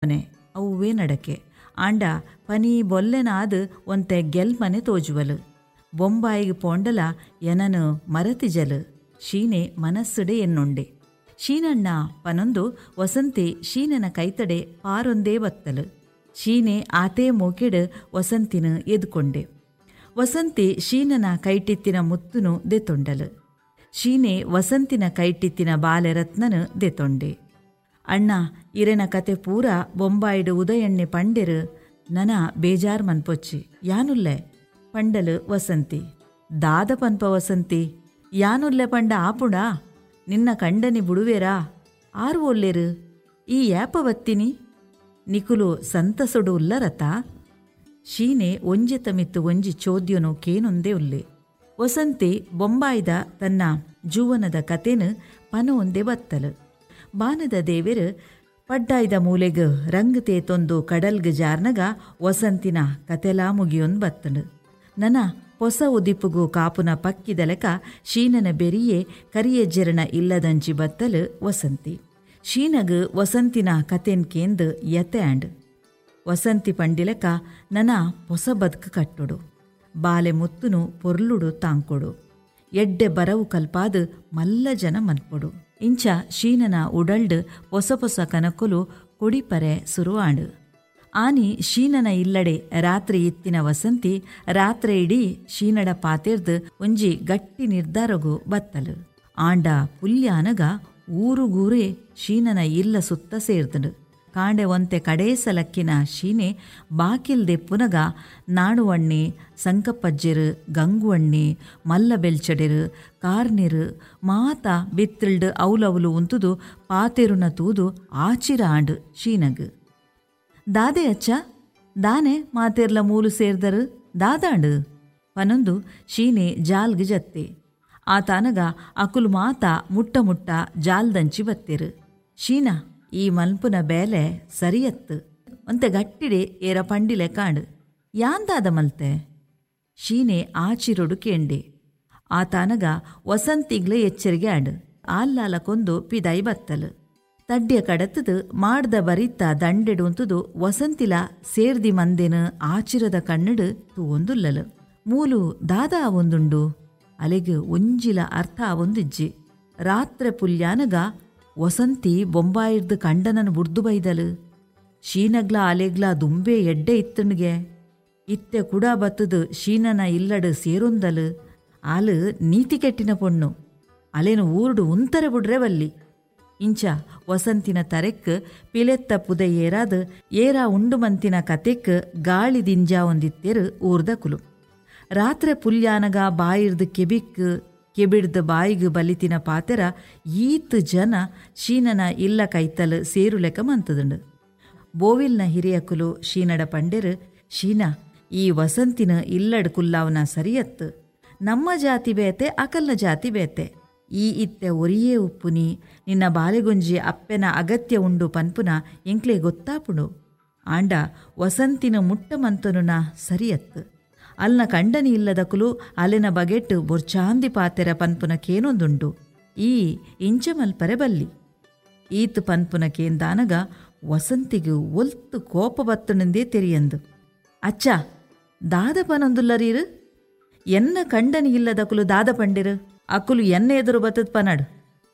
ಮನೆ ಅವ್ವೇ ನಡಕೆ. ಆಂಡ ಪನಿ ಬೊಲ್ಲೆನಾದ್ ಒಂತೆ ಗೆಲ್ಮನೆ ತೋಜುವಲ್. ಬೊಂಬಾಯಿಗ್ ಪೋಂಡಲ ಎನನ್ ಮರತಿಜಲ್ ಶೀನೆ ಮನಸ್ಸುಡೆ ಎನ್ನುಂಡೆ. ಶೀನಣ್ಣ ಪನೊಂದು ವಸಂತಿ ಶೀನನ ಕೈತಡೆ ಪಾರೊಂದೇ ಬತ್ತಲ್. ಶೀನೆ ಆತೇ ಮೋಕೆಡ್ ವಸಂತಿನ ಎದ್ಕೊಂಡೆ. ವಸಂತಿ ಶೀನನ ಕೈಟಿತ್ತಿನ ಮುತ್ತುನು ದೆತೊಂಡಲ್. ಶೀನೆ ವಸಂತಿನ ಕೈಟಿತ್ತಿನ ಬಾಲೆ ರತ್ನನು ದೆತೊಂಡೆ. ಅಣ್ಣ ಇರೆನ ಕತೆ ಪೂರ ಬೊಂಬಾಯಿಡ್ ಉದಯಣ್ಣೆ ಪಂಡೆರ್, ನನ ಬೇಜಾರ್ ಮನ್ಪೊಚ್ಚಿ ಯಾನುಲ್ಲೆ ಪಂಡಲು ವಸಂತಿ. ದಾದ ಪನ್ಪ ವಸಂತಿ, ಯಾನುಲ್ಲೆ ಪಂಡ ಆಪುಂಡಾ? ನಿನ್ನ ಕಂಡನಿ ಬುಡುವೆರಾ? ಆರು ಒಲ್ಲೆರು? ಈ ಯಾಪ ಬತ್ತಿನಿ? ನಿಕುಲು ಸಂತಸೊಡು ಉಲ್ಲರತಾ? ಶೀನೆ ಒಂಜೆತ ಮಿತ್ತು ಒಂಜಿ ಚೋದ್ಯನು ಕೇನೊಂದೇ ಉಲ್ಲೆ. ವಸಂತಿ ಬೊಂಬಾಯಿದ ತನ್ನ ಜೂವನದ ಕತೆನು ಪನೊಂದೇ ಬತ್ತಲು. ಬಾನದ ದೇವೆರು ಪಡ್ಡಾಯ್ದ ಮೂಲೆಗ್ ರಂಗ್ ತೇತೊಂದು ಕಡಲ್ಗ್ ಜಾರ್ನಗ ವಸಂತಿನ ಕತೆಲಾ ಮುಗಿಯೊಂದು ಬತ್ತಂಡು. ನನ ಪೊಸ ಉದಿಪುಗು ಕಾಪುನ ಪಕ್ಕಿದ ಲೆಕ ಶೀನನ ಬೆರಿಯೇ ಕರಿಯಜ್ಜೆರನ ಇಲ್ಲದಂಚಿ ಬತ್ತಲು ವಸಂತಿ. ಶೀನಗ್ ವಸಂತಿನ ಕತೆನ್ ಕೇಂದ್ ಯತೆ ಆಂಡ್. ವಸಂತಿ ಪಂಡಿಲೆಕ ನನ ಪೊಸ ಬದ್ಕ್ ಕಟ್ಟೊಡು, ಬಾಲೆ ಮುತ್ತುನು ಪೊರ್ಲುಡು ತಾಂಕೊಡು, ಎಡ್ಡೆ ಬರವು ಕಲ್ಪಾದ್ ಮಲ್ಲ ಜನ ಮನ್ಪೊಡು. ಇಂಚ ಶೀನನ ಉಡಲ್ಡ್ ಪೊಸ ಪೊಸ ಕನಕುಲು ಕೊಡಿಪರೆ ಸುರು ಆಂಡ್. ಆನಿ ಶೀನನ ಇಲ್ಲಡೆ ರಾತ್ರಿ ಇತ್ತಿನ ವಸಂತಿ ರಾತ್ರೆ ಇಡೀ ಶೀನಡ ಪಾತೆರ್ದ್ ಒಂಜಿ ಗಟ್ಟಿ ನಿರ್ಧಾರಗು ಬತ್ತಲು. ಆಂಡ ಪುಲ್ಯಾನಗ ಊರುಗೂರೇ ಶೀನನ ಇಲ್ಲ ಸುತ್ತ ಸೇರ್ದಂಡು. ಕಾಂಡೆ ಒಂತೆ ಕಡೇಸಲಕ್ಕಿನ ಶೀನೆ ಬಾಕಿಲ್ ದೆಪ್ಪುನಗ ನಾಣುವಣ್ಣೆ, ಸಂಕಪ್ಪಜ್ಜೆರು, ಗಂಗುವಣ್ಣೆ, ಮಲ್ಲ ಬೆಲ್ಚಡೆರು, ಕಾರ್ನೆರು ಮಾತ ಬಿತ್ತಿಲ್ಡ್ ಔಲೌಲು ಉಂತುದು ಪಾತೆರುನ ತೂದು ಆಚಿರ ಆಂಡ್ ಶೀನಗ್. ದಾದೆ ಅಚ್ಚ, ದಾನೆ ಮಾತೆರ್ಲ ಮೂಲು ಸೇರ್ದರು, ದಾದಾಂಡು ಪನೊಂದು ಶೀನೆ ಜಾಲ್ಗ್ ಜತ್ತೆ. ಆತಾನಗ ಅಕುಲು ಮಾತ ಮುಟ್ಟ ಮುಟ್ಟ ಜಾಲ್ದಂಚಿ ಬತ್ತೆರು. ಶೀನ ಈ ಮಲ್ಪುನ ಬೇಲೆ ಸರಿಯತ್ತು ಒಂತೆ ಗಟ್ಟಿಡೆ ಏರ ಪಂಡಿಲೆ ಕಾಂಡು. ಯಾಂದಾದ ಮಲ್ತೆ? ಶೀನೆ ಆಚಿರೊಡು ಕೇಂಡೆ. ಆತಾನಗ ವಸಂತಿಗ್ಲ ಎಚ್ಚರಿಗೆ ಆಂಡು. ಆಲ್ಲಾಲ ಕೊಂದು ಪಿದಾಯಿ ಬತ್ತಲು. ತಡ್ಯ ಕಡತದು ಮಾಡ್ದ ಬರಿತ್ತ ದಂಡೆಡುಂತುದು ವಸಂತಿಲ ಸೇರ್ದಿ ಮಂದೆನ ಆಚಿರದ ಕಣ್ಣಡು ತೂವೊಂದುಲ್ಲಲು. ಮೂಲು ದಾದ ಆವೊಂದುಂಡು ಅಲೆಗ್ ಒಂಜಿಲ ಅರ್ಥ ಆವೊಂದಿಜ್ಜಿ. ರಾತ್ರೆ ಪುಲ್ಯಾನಗ ವಸಂತಿ ಬೊಂಬಾಯಿರ್ದು ಕಂಡನನ್ನು ಬುಡ್ದು ಬೈದಲು. ಶೀನಗ್ಲ ಅಲೆಗ್ಲ ದುಂಬೆ ಎಡ್ಡೆ ಇತ್ತಣ್ಗೆ ಇತ್ತೆ ಕುಡ ಬತ್ತದು ಶೀನನ ಇಲ್ಲಡು ಸೇರೊಂದಲು. ಆಲು ನೀತಿ ಕೆಟ್ಟಿನ ಪೊಣ್ಣು, ಅಲೆನು ಊರುಡು ಉಂತರೆ ಬುಡ್ರೆ ಬಲ್ಲಿ. ಇಂಚ ವಸಂತಿನ ತರೆಕ್ ಪಿಲೆತ್ತ ಪುದೆ ಏರಾದ್ ಏರ ಉಂಡು ಮಂತಿನ ಕತೆಕ್ ಗಾಳಿ ದಿಂಜಾ ಒಂದಿತ್ತೇರು ಊರ್ದ ಕುಲು. ರಾತ್ರೆ ಪುಲ್ಯಾನಗ ಬಾಯಿರ್ದು ಕೆಬಿಕ್ ಕೆಬಿಡ್ದ ಬಾಯಿಗ್ ಬಲಿತಿನ ಪಾತೆರ ಈತ್ ಜನ ಶೀನನ ಇಲ್ಲ ಕೈತಲ್ ಸೇರುಲೆಕ ಮಂತದುಂಡು. ಬೋವಿಲ್ನ ಹಿರಿಯಕುಲು ಶೀನಡ ಪಂಡೆರು, ಶೀನ ಈ ವಸಂತಿನ ಇಲ್ಲಡ್ ಕುಲ್ಲಾವನ ಸರಿಯತ್ತು, ನಮ್ಮ ಜಾತಿ ಬೇತೆ ಅಕಲ್ನ ಜಾತಿ ಬೇತೆ, ಈ ಇತ್ತೆ ಒರಿಯೇ ಉಪ್ಪುನಿ, ನಿನ್ನ ಬಾಲೆಗುಂಜಿ ಅಪ್ಪೆನ ಅಗತ್ಯ ಉಂಡು ಪನ್ಪುನ ಎಂಕ್ಲೆ ಗೊತ್ತಾಪುಂಡು. ಆಂಡ ವಸಂತಿನ ಮುಟ್ಟ ಮಂತನುನ ಸರಿಯತ್ತು, ಅಲ್ನ ಕಂಡನಿ ಇಲ್ಲದಕುಲು ಅಲೆನ ಬಗೆಟ್ ಬೊರ್ಚಾಂದಿ ಪಾತೆರ ಪನ್ಪುನ ಕೇನೊಂದುಂಡು, ಈ ಇಂಚ ಮಲ್ಪರೆ ಬಲ್ಲಿ. ಈತ್ ಪನ್ಪುನ ಕೇಂದಾನಗ ವಸಂತಿಗೆ ಒಲ್ತು ಕೋಪ ಬತ್ತಣಂದೇ ತೆರಿಯಂದು. ಅಚ್ಚ ದಾದ ಪನೊಂದುಲ್ಲರೀರು, ಎನ್ನ ಕಂಡನಿ ಇಲ್ಲದಕುಲು ದಾದ ಪಂಡಿರು, ಅಕುಲು ಎನ್ನ ಎದುರು ಬತ್ತದ ಪನಡು.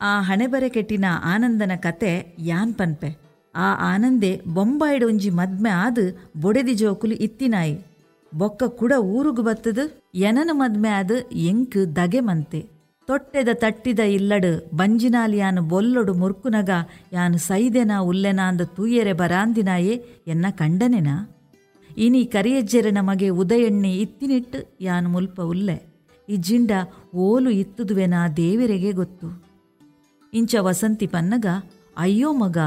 ಆ ಹಣೆಬರೆ ಕೆಟ್ಟಿನ ಆನಂದನ ಕತೆ ಯಾನ್ ಪನ್ಪೆ. ಆ ಆನಂದೆ ಬೊಂಬಾಯಿಡ್ ಒಂಜಿ ಮದ್ಮೆ ಆದ್ ಬೊಡೆದಿ ಜೋಕುಲು ಇತ್ತಿನಾಯಿ, ಬೊಕ್ಕ ಕುಡ ಊರುಗು ಬತ್ತದು ಎನನ ಮದ್ಮೆ ಆದ್ ಎಂಕ್ ದಗೆ ಮಂತೆ. ತೊಟ್ಟೆದ ತಟ್ಟಿದ ಇಲ್ಲಡು ಬಂಜಿನಾಲಿ ಯಾನು ಬೊಲ್ಲೊಡು ಮುರ್ಕುನಗ ಯಾನು ಸೈದೆನಾ ಉಲ್ಲೆನಾ ಅಂದ ತೂಯೆರೆ ಬರಾಂದಿನಾಯೇ ಎನ್ನ ಕಂಡನೆನಾ? ಇನಿ ಕರಿಯಜ್ಜೆರೆ ನಮಗೆ ಉದಯಣ್ಣೆ ಇತ್ತಿನಿಟ್ಟು ಯಾನು ಮುಲ್ಪ ಉಲ್ಲೆ, ಈ ಜಿಂಡ ಓಲು ಇತ್ತುದುವೆನಾ ದೇವರೆಗೆ ಗೊತ್ತು. ಇಂಚ ವಸಂತಿ ಪನ್ನಗ ಅಯ್ಯೋ ಮಗ,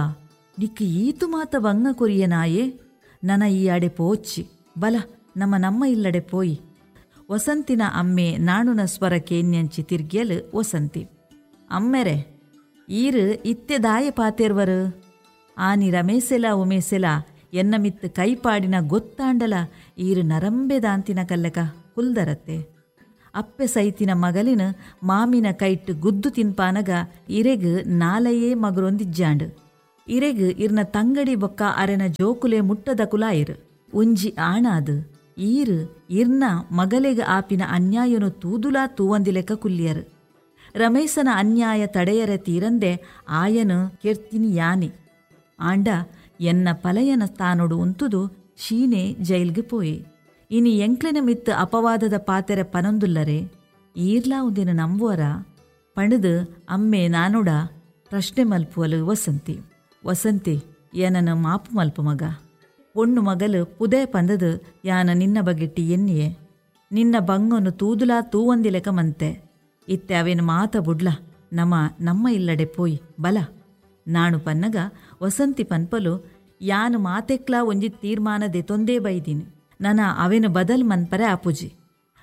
ನಿಕ್ಕು ಈತು ಮಾತ ಬಂಗ ಕೊರಿಯನಾಯೇ, ನನ ಈ ಅಡೆ ಪೋಚ್ಚಿ ಬಲ ನಮ್ಮ ನಮ್ಮ ಇಲ್ಲಡೆ ಪೋಯಿ. ವಸಂತಿನ ಅಮ್ಮೆ ನಾಣುನ ಸ್ವರ ಕೇನ್ಯಂಚಿ ತಿರ್ಗ್ಯಲು ವಸಂತಿ. ಅಮ್ಮೆರೆ ಈರು ಇತ್ತೆ ದಾಯ ಪಾತೇರ್ವರು, ಆನಿ ರಮೇಸೆಲ ಉಮೇಸೆಲ ಎನ್ನ ಮಿತ್ತು ಕೈಪಾಡಿನ ಗೊತ್ತಾಂಡಲ ಈರು ನರಂಬೆ ದಾಂತಿನ ಕಲ್ಲಕ ಕುಲ್ದರತ್ತೆ. ಅಪ್ಪೆ ಸೈತಿನ ಮಗಲಿನ ಮಾಮಿನ ಕೈಟ್ಟು ಗುದ್ದು ತಿನ್ಪಾನಗ ಇರೆಗ್ ನಾಲೆಯೇ ಮಗರೊಂದಿಜ್ಜಾಂಡು. ಇರೆಗ್ ಇರ್ನ ತಂಗಡಿ ಬೊಕ್ಕ ಅರೆನ ಜೋಕುಲೆ ಮುಟ್ಟದ ಕುಲಾಯಿರು. ಒಂಜಿ ಆಣಾದ್ ಈರ್ ಇರ್ನ ಮಗಲೆಗ್ ಆಪಿನ ಅನ್ಯಾಯನು ತೂದುಲಾ ತೂವಂದಿಲೆಕ್ಕ ಕುಲ್ಲಿಯರು. ರಮೇಶನ ಅನ್ಯಾಯ ತಡೆಯರೆ ತೀರಂದೆ ಆಯನು ಕೆರ್ತಿನಿ ಯಾನೆ. ಆಂಡ ಎನ್ನ ಪಲಯನ ಸ್ಥಾನೊಡು ಉಂತುದು ಶೀನೆ ಜೈಲ್ಗೆ ಪೋಯೆ. ಇನಿ ಎಂಕ್ಲೆನ ಮಿತ್ತು ಅಪವಾದದ ಪಾತೆರೆ ಪನೊಂದುಲ್ಲರೆ, ಈರ್ಲಾ ಉಂದಿನ ನಂಬುವರ ಪಣದು ಅಮ್ಮೆ ನಾನುಡ ಪ್ರಶ್ನೆ ಮಲ್ಪುವಲು ವಸಂತಿ. ವಸಂತಿ ಏನನ ಮಾಪು ಮಲ್ಪು ಮಗ, ಪೊಣ್ಣು ಮಗಲು ಪುದೆ ಪಂದದು ಯಾನ ನಿನ್ನ ಬಗೆಟ್ಟಿ ಎನ್ನಿಯೆ, ನಿನ್ನ ಬಂಗನು ತೂದುಲಾ ತೂವಂದಿಲೆಕ ಮಂತೆ. ಇತ್ತೆ ಅವೇನು ಮಾತ ಬುಡ್ಲ, ನಮ ನಮ್ಮ ಇಲ್ಲಡೆ ಪೋಯ್ ಬಲ ನಾಣು ಪನ್ನಗ ವಸಂತಿ ಪನ್ಪಲು ಯಾನು ಮಾತೆಕ್ಲಾ ಒಂಜಿ ತೀರ್ಮಾನ ದೆತೊಂದೇ ಬೈದೀನಿ, ನನ ಅವೇನು ಬದಲ್ ಮನ್ಪರೆ ಆಪುಜಿ.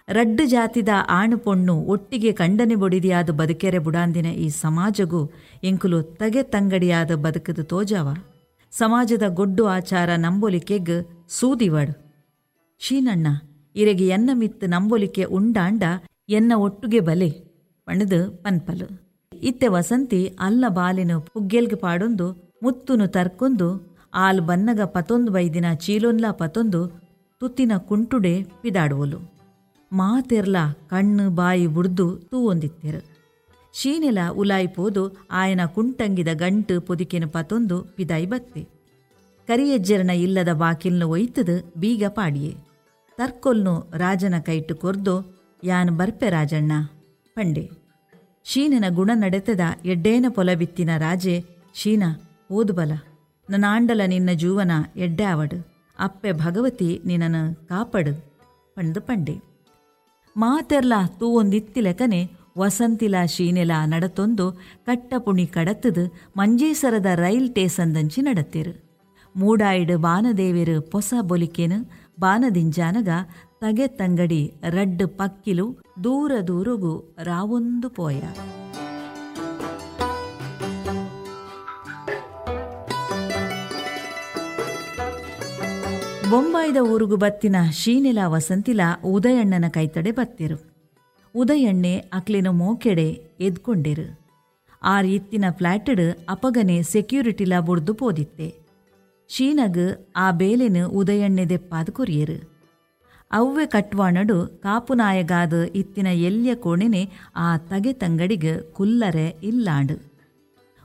ರಡ್ಡು ಜಾತಿದ ಆಣು ಪೊಣ್ಣು ಒಟ್ಟಿಗೆ ಕಂಡನೆ ಬೊಡಿದಿಯಾದ ಬದುಕೆರೆ ಬುಡಾಂದಿನ ಈ ಸಮಾಜಗೂ ಎಂಕುಲು ತಗೆ ತಂಗಡಿಯಾದ ಬದುಕದು ತೋಜಾವ. ಸಮಾಜದ ಗೊಡ್ಡು ಆಚಾರ ನಂಬೊಲಿಕೆಗ್ ಸೂದಿವಡ್. ಶೀನಣ್ಣ ಇರೆಗೆ ಎನ್ನ ಮಿತ್ತು ನಂಬೊಲಿಕೆ ಉಂಡಾಂಡ ಎನ್ನ ಒಟ್ಟುಗೆ ಬಲೆ ಪಣದು ಪನ್ಪಲು. ಇತ್ತೆ ವಸಂತಿ ಅಲ್ಲ ಬಾಲಿನ ಪುಗ್ಗೆಲ್ಗೆ ಪಾಡೊಂದು ಮುತ್ತುನು ತರ್ಕೊಂದು ಆಲ್ ಬನ್ನಗ ಪತೊಂದು ಬೈದಿನ ಚೀಲೊನ್ಲಾ ಪತೊಂದು ತುತ್ತಿನ ಕುಂಟುಡೆ ಪಿದಾಡುವಲು. ಮಾತೆರ್ಲ ಕಣ್ಣು ಬಾಯಿ ಬುಡ್ದು ತೂವೊಂದಿತ್ತೆರು. ಶೀನೆಲ ಉಲಾಯಿ ಪೋದು ಆಯನ ಕುಂಟಂಗಿದ ಗಂಟು ಪೊದಿಕೆನು ಪತೊಂದು ಪಿದಾಯಿ ಬತ್ತೆ. ಕರಿಯಜ್ಜರನ ಇಲ್ಲದ ಬಾಕಿಲ್ನು ಒಯ್ತದು ಬೀಗ ಪಾಡಿಯೆ. ತರ್ಕೊಲ್ನು ರಾಜನ ಕೈಟು ಕೊರ್ದು ಯಾನ್ ಬರ್ಪೆ ರಾಜಣ್ಣ ಪಂಡೆ. ಶೀನನ ಗುಣ ನಡೆತದ ಎಡ್ಡೇನ ಪೊಲಬಿತ್ತಿನ ರಾಜೆ ಶೀನ ಓದು ಬಲ, ನನಾಂಡಲ ನಿನ್ನ ಜೂವನ ಎಡ್ಡೆ ಆವಡು, ಅಪ್ಪೆ ಭಗವತಿ ನಿನ್ನನು ಕಾಪಡು ಪಂದು ಪಂಡೆ. ಮಾತೆರ್ಲ ತೂವೊಂದಿತ್ತಿಲೆಕನೆ ವಸಂತಿಲ ಶೀನೆಲ ನಡತೊಂದು ಕಟ್ಟಪುಣಿ ಕಡತದು ಮಂಜೇಸರದ ರೈಲ್ ಟೇಸಂದಂಚಿ ನಡತಿರು. ಮೂಡಾಯಿಡು ಬಾನದೇವಿರು ಪೊಸ ಬೊಲಿಕೆನು ಬಾನದಿಂಜಾನಗ ತಗೆ ತಂಗಡಿ ರಡ್ಡು ಪಕ್ಕಿಲು ದೂರ ದೂರಗು ರಾವೊಂದು ಪೋಯ. ಬೊಂಬಾಯಿದ ಊರುಗು ಬತ್ತಿನ ಶೀನೆಲ ವಸಂತಿಲ ಉದಯಣ್ಣನ ಕೈತಡೆ ಬತ್ತಿರು. ಉದಯಣ್ಣೆ ಅಕ್ಲಿನ ಮೋಕೆಡೆ ಎದ್ಕೊಂಡಿರು. ಆರ್ ಇತ್ತಿನ ಫ್ಲಾಟಡ್ ಅಪಗನೆ ಸೆಕ್ಯೂರಿಟಿಲ ಬುಡ್ದು ಪೋದಿತ್ತೆ. ಶೀನಗ್ ಆ ಬೇಲೆನು ಉದಯಣ್ಣೆ ದೆಪ್ಪಾದ ಕೊರಿಯರು. ಅವ್ವೆ ಕಟ್ವಾಣಡು ಕಾಪುನಾಯಗಾದ ಇತ್ತಿನ ಎಲ್ಯ ಕೋಣೆನೆ ಆ ತಗೆ ತಂಗಡಿಗೆ ಕುಲ್ಲರೆ ಇಲ್ಲಾಂಡು.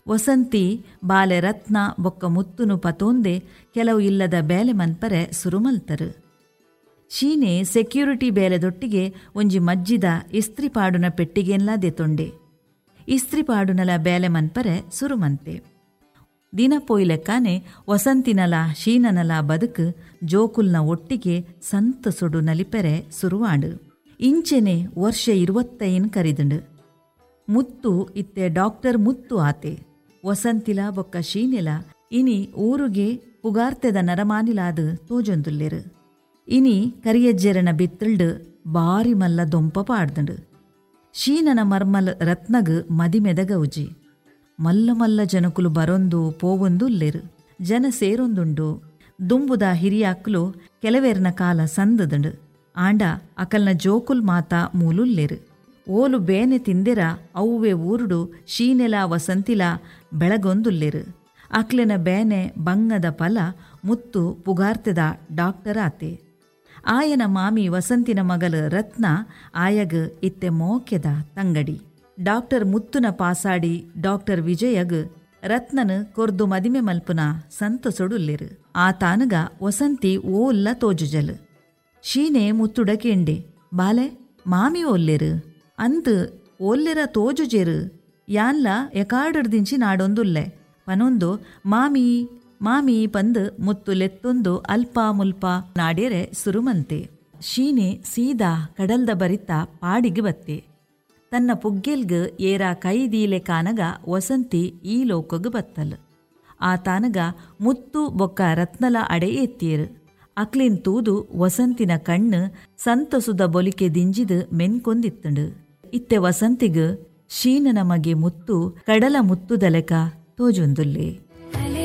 ವಸಂತಿ ಬಾಲೆ ರತ್ನ ಬೊಕ್ಕ ಮುತ್ತುನು ಪತೋಂದೆ ಕೆಲವು ಇಲ್ಲದ ಬೇಲೆ ಮನ್ಪರೆ ಸುರುಮಲ್ತರು. ಶೀನೆ ಸೆಕ್ಯೂರಿಟಿ ಬೇಲೆದೊಟ್ಟಿಗೆ ಒಂಜಿ ಮಜ್ಜಿದ ಇಸ್ತ್ರಿ ಪಾಡುನ ಪೆಟ್ಟಿಗೆನ್ಲಾ ದೆತೊಂಡೆ. ಇಸ್ತ್ರಿ ಪಾಡುನಲ ಬೇಲೆ ಮನ್ಪರೆ ಸುರುಮಂತೆ. ದಿನ ಪೊಯ್ಲೆಕ್ಕಾನೆ ವಸಂತಿನಲ ಶೀನನಲ ಬದುಕು ಜೋಕುಲ್ನ ಒಟ್ಟಿಗೆ ಸಂತಸುಡು ನಲಿಪೆರೆ ಸುರುವಾಂಡು. ಇಂಚೆನೆ ವರ್ಷ 25 ಕರಿದಂಡು. ಮುತ್ತು ಇತ್ತೆ ಡಾಕ್ಟರ್ ಮುತ್ತು ಆತೆ. ವಸಂತಿಲ ಬೊಕ್ಕ ಶೀನೆಲ ಇನಿ ಊರುಗೆ ಪುಗಾರ್ತೆದ ನರಮಾನಿಲಾದ ತೋಜೊಂದುಲ್ಲೆರು. ಇನಿ ಕರಿಯಜ್ಜೆರನ ಬಿತ್ತಲ್ಡು ಬಾರಿ ಮಲ್ಲ ದೊಂಪ ಪಾಡ್ದಂಡು. ಶೀನನ ಮರ್ಮಲ್ ರತ್ನಗ್ ಮದಿಮೆದ ಗೌಜಿ. ಮಲ್ಲ ಮಲ್ಲ ಜನಕುಲು ಬರೊಂದು ಪೋವೊಂದು ಉಲ್ಲೆರು. ಜನ ಸೇರೊಂದುಂಡು. ದುಂಬುದ ಹಿರಿಯಾಕ್ಲು ಕೆಲವೇರ್ನ ಕಾಲ ಸಂದದಂಡು. ಆಂಡ ಅಕಲ್ನ ಜೋಕುಲ್ ಮಾತಾ ಮೂಲುಲ್ಲೆರು. ಓಲು ಬೇನೆ ತಿಂದೆರ ಅವ್ವೆ ಊರುಡು ಶೀನೆಲ ವಸಂತಿಲ ಬೆಳಗೊಂದುಲ್ಲೆರು. ಅಕ್ಲೆನ ಬೇನೆ ಬಂಗದ ಫಲ ಮುತ್ತು ಪುಗಾರ್ತೆದ ಡಾಕ್ಟರ್ ಆತೆ. ಆಯನ ಮಾಮಿ ವಸಂತಿನ ಮಗಲು ರತ್ನ ಆಯಗ್ ಇತ್ತೆ ಮೋಕೆದ ತಂಗಡಿ. ಡಾಕ್ಟರ್ ಮುತ್ತುನ ಪಾಸಾಡಿ ಡಾಕ್ಟರ್ ವಿಜಯಗ್ ರತ್ನನು ಕೊರ್ದು ಮದಿಮೆ ಮಲ್ಪುನ ಸಂತಸೊಡುಲ್ಲೆರು. ಆ ತಾನಗ ವಸಂತಿ ಓಲ್ಲ ತೋಜುಜಲು. ಶೀನೆ ಮುತ್ತುಡ ಕೇಂಡೆ, ಬಾಲೆ ಮಾಮಿ ಓಲ್ಲೆರು ಅಂತು ಓಲ್ಲೆರ ತೋಜುಜೆರು, ಯಾನ್ಲ ಎಕಾಡರ್ದಿಂಚಿ ನಾಡೊಂದುಲ್ಲೆ ಪನೊಂದು ಮಾಮಿ ಮಾಮಿ ಪಂದು ಮುತ್ತು ಲೆತ್ತೊಂದು ಅಲ್ಪ ಮುಲ್ಪ ನಾಡ್ಯರೆ ಸುರುಮಂತೆ. ಶೀನೆ ಸೀದಾ ಕಡಲ್ದ ಬರಿತ ಪಾಡಿಗೆ ಬತ್ತೆ. ತನ್ನ ಪುಗ್ಗೆಲ್ಗ್ ಏರ ಕೈದೀಲೆ ಕಾನಗ ವಸಂತಿ ಈ ಲೋಕಗ್ ಬತ್ತಲ್. ಆ ತಾನಗ ಮುತ್ತು ಬೊಕ್ಕ ರತ್ನಲ ಅಡೆ ಎತ್ತಿಯರು. ಅಕ್ಲಿನ್ ತೂದು ವಸಂತಿನ ಕಣ್ಣು ಸಂತಸುದ ಬೊಲಿಕೆ ದಿಂಜಿದು ಮೆನ್ಕೊಂದಿತ್ತಂಡು. ಇತ್ತೆ ವಸಂತಿಗ್ ಶೀನನ ಮಗೆ ಮುತ್ತು ಕಡಲ ಮುತ್ತುದಲೆಕ ತೋಜೊಂದುಲ್ಲೆ.